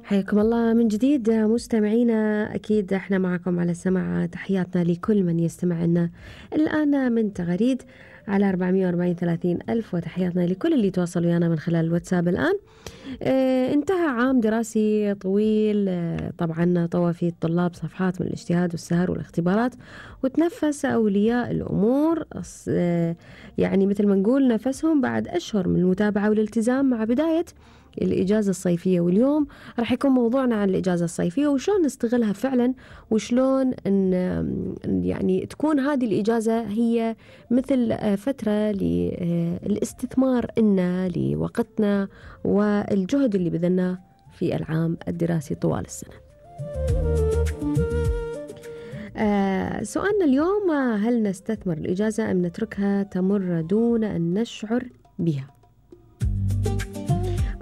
حياكم الله من جديد مستمعينا. أكيد احنا معكم على السمع. تحياتنا لكل من يستمع لنا الآن من تغريد على 440 ألف، وتحياتنا لكل اللي تواصلوا ويانا من خلال الواتساب الآن. انتهى عام دراسي طويل، طبعا طوى فيه الطلاب صفحات من الاجتهاد والسهر والاختبارات، وتنفس أولياء الأمور يعني مثل ما نقول نفسهم بعد أشهر من المتابعة والالتزام مع بداية الإجازة الصيفية. واليوم راح يكون موضوعنا عن الإجازة الصيفية وشلون نستغلها فعلا، وشلون يعني تكون هذه الإجازة هي مثل فترة للاستثمار إنا لوقتنا والجهد اللي بذلناه في العام الدراسي طوال السنة. سؤالنا اليوم: هل نستثمر الإجازة أم نتركها تمر دون أن نشعر بها؟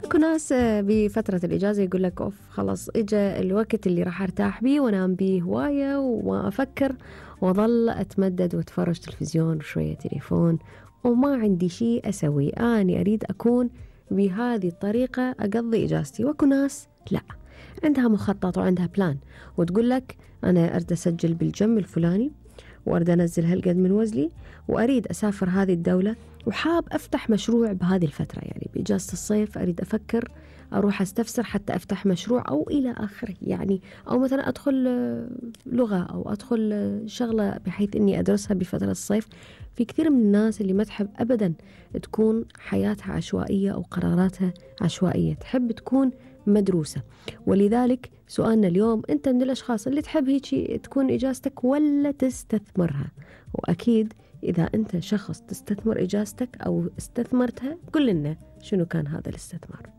أكو ناس بفترة الإجازة يقول لك أوف خلاص إجا الوقت اللي راح أرتاح بيه وأنام بيه هواية وما أفكر وأظل أتمدد وأتفرج تلفزيون وشوية تليفون وما عندي شيء أسوي. أنا أريد أكون بهذه الطريقة أقضي إجازتي. وأكو ناس لا، عندها مخطط وعندها بلان وتقول لك أنا أريد أسجل بالجم الفلاني وأريد أنزل هالقد من وزني وأريد أسافر هذه الدولة وحاب أفتح مشروع بهذه الفترة، يعني بإجازة الصيف أريد أفكر أروح أستفسر حتى أفتح مشروع أو إلى آخره، يعني أو مثلا أدخل لغة أو أدخل شغلة بحيث أني أدرسها بفترة الصيف. في كثير من الناس اللي ما تحب أبدا تكون حياتها عشوائية أو قراراتها عشوائية، تحب تكون مدروسة. ولذلك سؤالنا اليوم: أنت من الأشخاص اللي تحب هيك تكون إجازتك ولا تستثمرها؟ وأكيد إذا أنت شخص تستثمر إجازتك أو استثمرتها قل لنا شنو كان هذا الاستثمار.